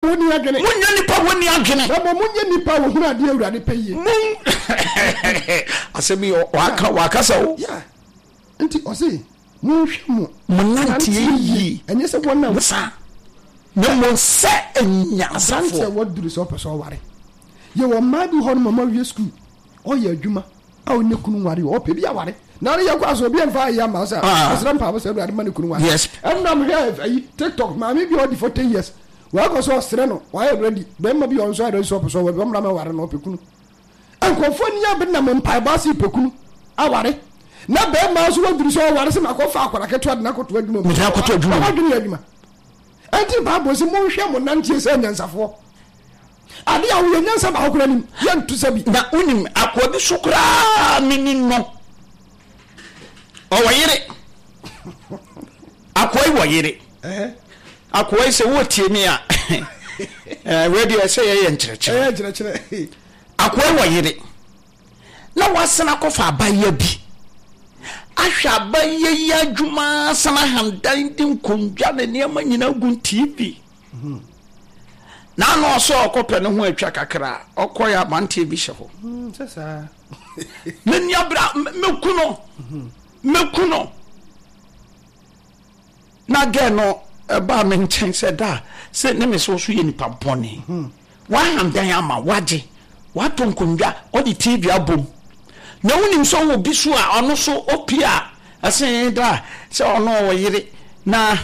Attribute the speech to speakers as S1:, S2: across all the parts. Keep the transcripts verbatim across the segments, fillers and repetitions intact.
S1: wɔnni adwene.
S2: Monyɛ nipa a wɔnni adwene.
S1: Na mmom monyɛ nipa a wɔhunu adeɛ Awurade pɛ yie.
S2: Mon asɛm yi waka wakasa o.
S1: Yeah. Nti ɔse monhwɛ mo
S2: mo nanteɛ yie.
S1: Ɛnyɛ sɛ wɔn a
S2: sa na mmom sɛ
S1: aberanteɛ
S2: anyansafoɔ.
S1: Wɔduru sɛ ɔpɛ sɛ ɔware, yɛwɔ mmaa bi hɔ no mama wie sukuu, ɔyɛ adwuma a ɔnyɛ kunu nware, ɔpɛ bi aware na ɔne yɛkɔ aso obi mfa ayɛ ama sɛ
S2: Ah.
S1: ɔsrɛ mpaabɔ sɛ Awurade ma ne kunu nware.
S2: Yes.
S1: Ɛnam hwɛ ayi TikTok, maame bi a ɔdi forty years, wakɔ sɛ ɔsrɛ no, wayɛ ready, bɛrima bi a ɔno nso ayɛ ready sɛ ɔpɛ sɛ ɔware, ɔmmra mɛware no, ɔpɛ kunu. Nkurɔfoɔ ni abɛ nam mpaebɔ ase pɛ kunu aware, na bɛrima nso waduru sɛ ɔware sɛ makɔfa akwadaa ketewa de n'akɔto adwuma mu.
S2: Mede akɔto adwuma mu.
S1: Wadwene yɛ adwuma. Ɛnti Bible sɛ monhwɛ mo nanteɛ sɛ anyansafoɔ. Ade a woyɛ nyansa baako koraa nim yɛnto sɛ bi.
S2: Na wonim akoa bi so koraa meni no, ɔwɔ yere. Akoa yi wɔ yere. Akoa yi, sɛ wɔtie mi a, ɛɛ wei deɛ sɛ yɛyɛ nkyerɛkyerɛ.
S1: Ɛyɛ kyerɛkyerɛ.
S2: Akoa yi wɔ yere na wasena akɔfa abayɛ bi ahwɛ abayɛ yi adwuma, sana ahandan de nkonnwa ne nneɛma nyinaa gu T V na ana ɔsɛ ɔkɔpɛ ne ho atwa kakra, ɔkɔyɛ aberanteɛ bi hyɛ hɔ.
S1: Sɛ saa.
S2: Me nua bra, mɛku no, mɛku no. Na gɛ no ɛbaa me nkyɛn sɛ da sɛ ne me sɛ wo so yɛ nipa bɔne, wahandan ama wagye, watɔ nkonnwa, ɔde T V abom, na wonim sɛ wɔ bi so a ɔno so ɔpie a ɛsɛ da sɛ ɔno ɔwɔ yere na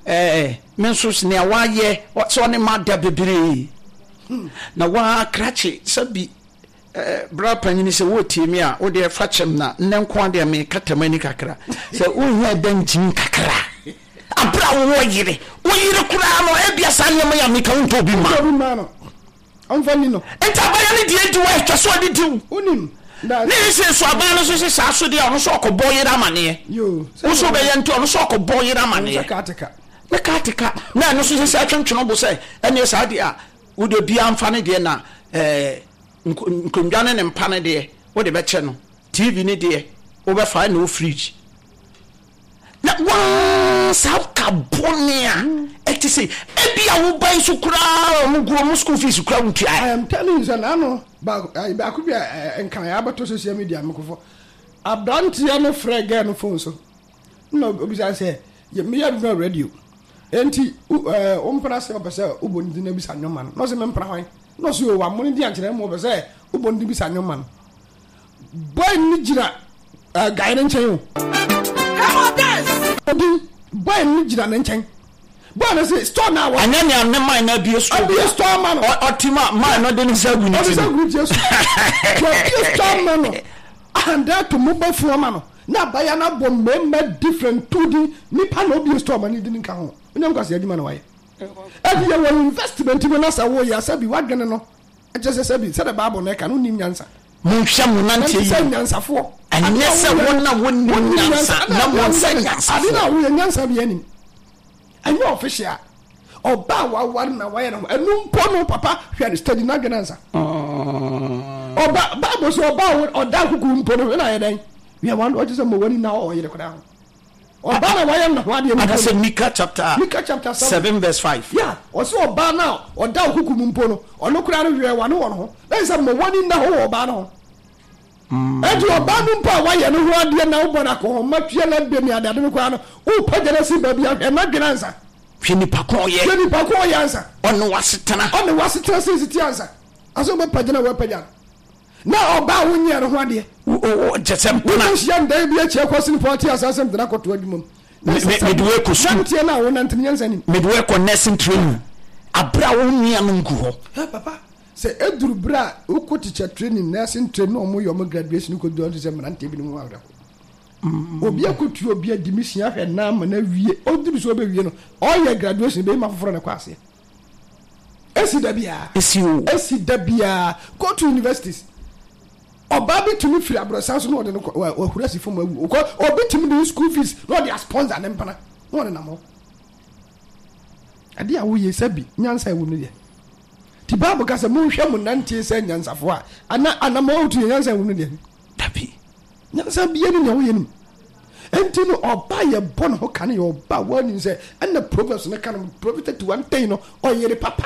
S2: ɛɛ me nso nea wayɛ sɛ ɔne ma da bebree na wakrakye sɛbi ɛɛ bra panyini sɛ wɔretie mi a, wodeɛ fa kyɛm na nnɛ nko adeɛ meka tam ani kakra sɛ wohia da nkyim kakra abere a wowɔ yere, wo yere koraa no ebia saa nneɛma yi a meka wontɔ obi ma.
S1: Obi ma no ɔmfa ni no.
S2: Nti abaya no deɛ di wɔ atwa so ɔde di wo.
S1: Wonim na
S2: ne yɛ sɛ so aban no so sɛ saa so deɛ, ɔno so ɔkɔbɔ yere amanneɛ.
S1: Yo.
S2: Wo so bɛyɛ nti ɔno so ɔkɔbɔ yere
S1: sɛ
S2: amanneɛ.
S1: Kaateka.
S2: Ne kaateka na ɛno so sɛ sɛ atwentwene bo sɛ ɛneɛ saa deɛ a wode bia mfa ne deɛ na ɛɛ nko- nkonnwa ne ne mpa ne deɛ wode bɛkyɛ no, T V ne deɛ wobɛfa ɛna wo fridge na waa saa ka bɔne a ɛte sɛ ebi a woba yi so koraa, ɔmo gu ɔmo school fees koraa wotua.
S1: I am telling you sɛ n'ano baako ayi baako bi a ɛ, nkran abɛto social media mekofo, aberanteɛ no frɛ girl no phone so na obisa sɛ yɛ meyɛ adwuma radio, enti wo ɛɛ wo mpena sɛ ɔpɛ sɛ wobɔ ne din na bisa nnwoma no, na ɔsɛ mempena hwan, na ɔsɛ o wammo ne din ankyerɛ mu, ɔpɛ sɛ wobɔ ne din bisa nnwoma no. Boy no gyina ɛɛ guy no nkyɛn o.
S3: Come on, dance.
S1: Odi boy no gyina ne nkyɛn, boy no sɛ store na wɔ
S2: Anyɛ nea ne man na abie store.
S1: Abie store ma no.
S2: Ɔ- ɔte ma man no de ne nsa agu ne
S1: ɔde
S2: ti
S1: sɛ
S2: no.
S1: group Jesu wɔbie store ma no, ahanda to mobile phone ama no, na abaya no abɔ mmarima different two din nipa na obie store ma no di ne nka ho. Onyam kwasi adwuma na wayɛ ɛdi yɛ wɔ investment mu na sɛ woyɛ sɛbi wadwene no ɛkyɛ sɛ sɛbi sɛde Bible no ɛka no wonim nyansa.
S2: Monhwɛ mo
S1: nante
S2: nanteɛ
S1: sɛ
S2: yi
S1: nyansafoɔ.
S2: Ɛnyɛ sɛ wɔn a wɔnnim nyansa na wɔn sɛ
S1: ade na
S2: nyansafoɔ.
S1: Woyɛ nyansa bi anim, ɛnyɛ official ɔba a waware na wayɛ ne ho ɛnu mpo no, papa hwɛ no steady n'adwene ansa. Ɔba Bible sɛ ɔba a ɔda kuku mpo no hwɛ na ayɛ dɛn wia wɔn ɔkyɛ sɛ mo wani na ɔyere koraa ho ɔba na wayɛ ne ho adeɛ no.
S2: Ada sɛ Mika chapter
S1: Mika chapter seven.
S2: seven verse five.
S1: Ya, ɔsɛ ɔbaa na ɔda kuku mu mpo no, ɔno koraa no hwɛ wane wɔ no ho na sɛ mo wani na ho wɔ ɔbaa no ho. Ɛnti ɔbaa no mpo a wayɛ ne ho adeɛ na wobɔ no akɔhɔma tua na de ne adeade no koraa no, wopagya no asi baabi ahwɛ n'adwene ansa.
S2: Hwɛ nipa ko ɔyɛ.
S1: Hwɛ nipa ko ɔyɛ ansa.
S2: Ɔne wasetena.
S1: Ɔne wasetena sɛ siti ansa asɛ wobɛpagya no a wɔapagya no na ɔbaa wonyɛ ne ho adeɛ.
S2: Kyɛ sɛ mpena.
S1: Wobɛhyia ndan bi akyi akɔ sene pɔ ɔte asa asɛm tena kɔto adwuma mu.
S2: Me- me- mede wo akɔ sukuu.
S1: Nanteɛ no a wonante no nyansa nim.
S2: Mede wo ɛkɔ nursing training aberɛ a wo nua no ngu hɔ.
S1: Ɛ, papa, sɛ ɛduru berɛ a wokɔ teacher training, nursing training na ɔmo yɛ ɔmo graduation kɔduru ɔte sɛ mmeranteɛ binom ho awerɛho, obi akɔtua, obi adi me sua hwɛ na ama no awie, ɔduru sɛ ɔbɛwie no, ɔyɛ graduation bɛyi ma foforɔ no kɔ aseɛ. Ɛsi da biara.
S2: Ɛsi o.
S1: Ɛsi da biara. Go to universities, ɔbaa bi tumi firi aborɔsan so na ɔde no kɔ wa- wahura si fam awu. Ɔkɔ obi tumi de school fees na ɔde asponsor ne mpana na ɔde nam hɔ. Adeɛ a woyɛ sɛ bi nyansa ɛwɔ mu deɛ ti Bible ka sɛ monhwɛ mo nanteɛ sɛ nyansafoɔ a ana anamɔ wotu yɛ nyansa ɛwɔ mu deɛ.
S2: Dabi.
S1: Nyansa bia ne nea woyɛ no mu. Enti no ɔba yɛ bɔ ne ho ka no yɛ ɔba wɔanim sɛ ɛna Proverbs no ka no, Proverbs thirty one ten no, ɔyere papa